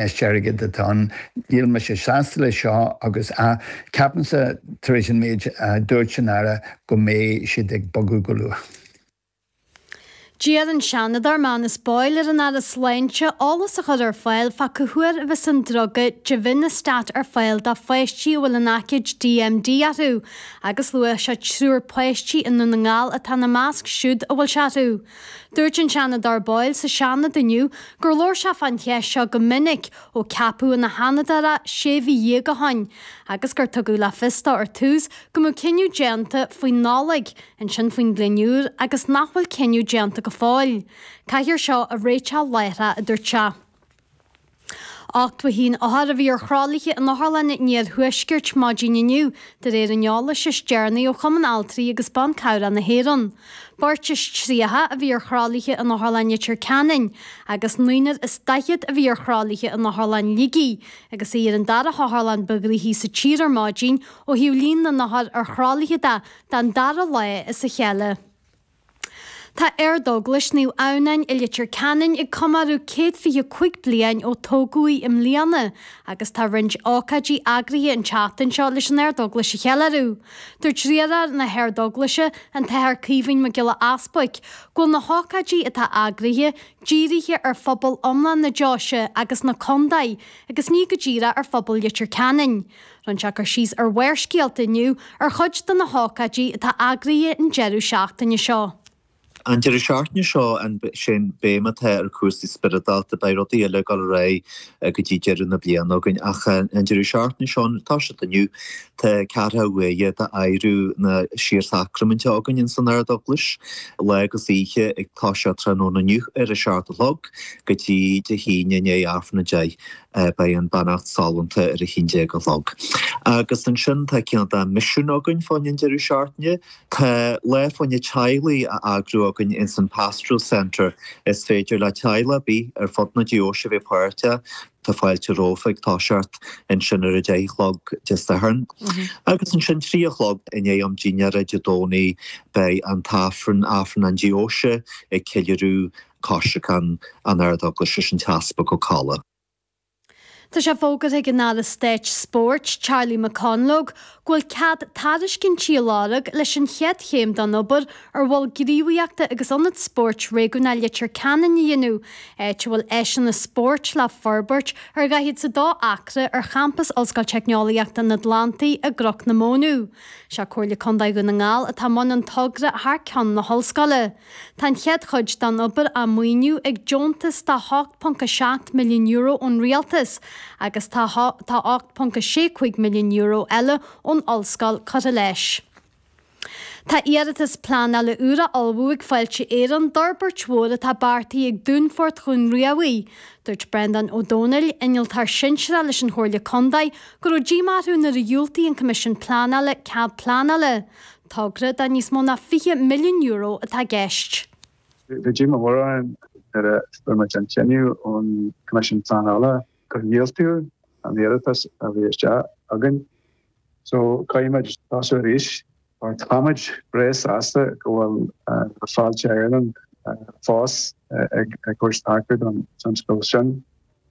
Ceist airgid atá ann. Níl mise sásta leis seo agus ceapaimse tar éis an méid a dúirt an Aire go mbeidh siad ag bogadh go luath. D'iarr an Seanadóir Manus Boyle ar an Aire Sláinte eolas a chur ar fáil fá cá huair a bheas an druga Devinostat ar fáil do pháistí a bhfuil an aicíd DMD orthu agus luaigh sé triúr páistí i nDún na nGall atá ina measc siúd a bhfuil sé orthu. Dúirt an Seanadóir Boyle sa Seanad inniu gur labhair sé fán cheist seo go minic ó ceapadh ina Sheanadóir é sé mhí dhéag ó shoin agus gur tugadh le fios dó ar tús go mbeadh cinneadh déanta faoin Nollaig, ansin faoin bhliain úr agus nach bhfuil cinneadh déanta go fóill. Caithfear seo a réiteach láithreach, a dúirt sé. 81 othar a bhí ar thralaithe in otharlanna an iarthuaiscirt maidin inniu, de réir an eolais is deireanaí ó Chumann Altraí agus Ban Cabhrach na hÉireann. Beirt is 30 a bhí ar thralaithe in Otharlann Leitir Ceanainn agus naonúr is 40 a bhí ar thralaithe in Otharlann Shligigh, agus í ar an dara hotharlann ba ghnoithí sa tír ar maidin ó thaobh líon na n-othar ar thralaithe de, don dara lá as a chéile. Tá Ardeaglais Naomh Adhamhnáin i Leitir Ceanainn ag comóradh 125 bliain ó tógadh í i mbliana agus tá roinnt ócáidí eagraithe an tseachtain seo leis an Ardeaglais a cheiliúradh. Dúirt riarthóir na hArdeaglaise, an tAthair Caoimhín Mac Giolla Easbuic, go bhfuil na hócáidí atá eagraithe dírithe ar phobal iomlán na deoise agus na contae agus ní go díreach ar phobal Leitir Ceanainn. Rinne sé cur síos ar Bharrscéalta inniu ar chuid de na hócáidí atá eagraithe an deireadh seachtaine seo. An deireadh seachtaine seo, sé an béim atá ar chúrsaí spioradálta. Beidh rudaí eile ag dul ar aghaidh go dtí deireadh na bliana againn ach an deireadh seachtaine seo, tá siad inniu, tá ceathrú uaire d'adhradh na Síorsacraiminte againn ins an Ard-Eaglais, lá agus oíche ag toiseacht tráthnóna inniu ar a seacht a chlog go dtí Dé hAoine i ndiaidh Aifreann a 10. Beidh an beannacht sollúnta ar a haon déag a chlog. Agus ansin tá cineál de misiún againn fá choinne an deireadh seachtaine. Tá lá fá choinne teaghlaigh á eagrú againn ins an Pastoral Centre. Is féidir le teaghlach ar bith ar fud na deoise a bheith páirteach. Tá fáilte romhaibh ag toiseacht ansin ar a deich a chlog Dé Sathairn. Agus ansin 3 a chlog i ndiaidh am dinnéara Dé Domhnaigh beidh an tAifreann, Aifreann an Deoise, ag ceiliúradh Coisreacan an Ard-Eaglais leis an tEaspag Ó Colla. Tá sé fógartha ag an Aire Stáit Spóirt, Charlie McConalogue, go bhfuil cead tairiscintí á lorg leis an chéad chéim den obair ar mhol gníomhaíochta agus ionad spóirt réigiúnach Leitir Ceanainn a dhéanamh, áit a bhfuil áiseanna spóirt le forbairt ar 42 acra ar champas Ollscoil Teicneolaíochta an Atlantaigh i gCnoc na Mónadh. Sé Comhairle Contae Dhún na nGall atá i mbun an togra thar ceann na hollscoile. Tá an chéad chuid den obair á maoiniú ag deontas de €8.7 milliún ón Rialtas agus tá tá €8.65 milliún eile ón Ollscoil curtha leis. Tá iarratas pleanála úr á ullmhú ag Fáilte Éireann d'fhorbairt mhór atá beartaithe ag Dúnfort Dhún Riabhaigh. Dúirt Breandán Ó Domhnaill, innealtóir sinsearach leis an Chomhairle Contae, go raibh díomá orthu nuair a dhiúltaigh an Coimisiún Pleanála cead pleanála. Togra de níos mó ná €20 milliún atá i gceist. Bhí díomá mór orainn nuair a fuair muid an cinneadh ón Coimisiún Pleanála gur dhiúltaíodh an iarratas a bhí isteach againn. So caithfidh muid tosú arís mar táimid breá sásta go bhfuil Fáilte Éireann fós ag tabhairt tacú don tionscal sin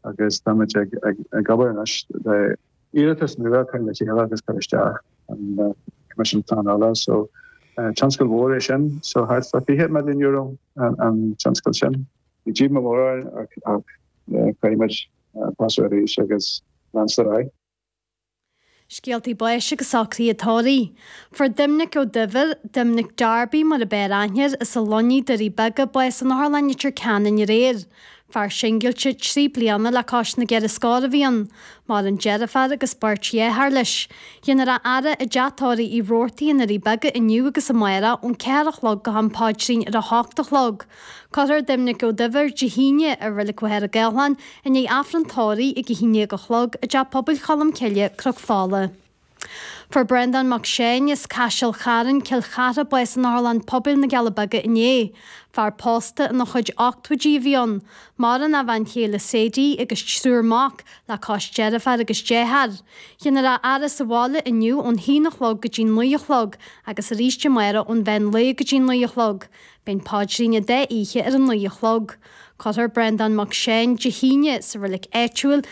agus táimid ag obair anois le iarratas nua a chur le chéile agus cur isteach an Coimisiún Pleanála. So tionscal mhór é sin, so thart fá €20 milliún an tionscal sin. Bhí díomá mór orainn ach caithfidh muid tosú arís agus leanstan ar aghaidh. Scéaltaí báis agus socruithe tórraimh. Fuair Doimnic Ó Duibhir, Doimnic Darby mar a b'fhearr aithne air, as an Luinnigh, Doirí Beaga, bás in Otharlann Leitir Ceanainn aréir. Fear singilte 3 bliana le cois na gceithre scór a bhí ann. Maireann deirfiúr agus beirt dheartháir leis. Dhéanfar a fhaire i dTeach Tórraimh Uí Robhartaigh i nDoirí Beaga inniu agus amárach ón 4 a chlog go ham paidrín ar a hocht a chlog. Cuirfear Doimnic Ó Duibhir Dé hAoine i Reilig Mhachaire Gathlán i ndiaidh Aifreann tórraimh ag 11 a chlog i dTeach Pobail Cholm Cille, Cnoc Fola. Fuair Breandán Mac Seáin as Caiseal Chairn, Cill Chartha, bás in Otharlann Pobail na gCealla Beaga inné. Fear pósta ina chuid ochtóidí a bhí ann. Maireann a bhean chéile Sadie agus triúr mac, le cois deirféar agus dearthár. Dhéanfar a fhaire sa bhaile inniu ón haon a chlog go dtí naoi a chlog agus arís amárach ón mheán lae go dtí naoi a chlog. Beidh an paidrín an dá oíche ar a naoi a chlog. Cuirfear Breandán Mac Seáin Dé hAoine sa reilig áitiúil.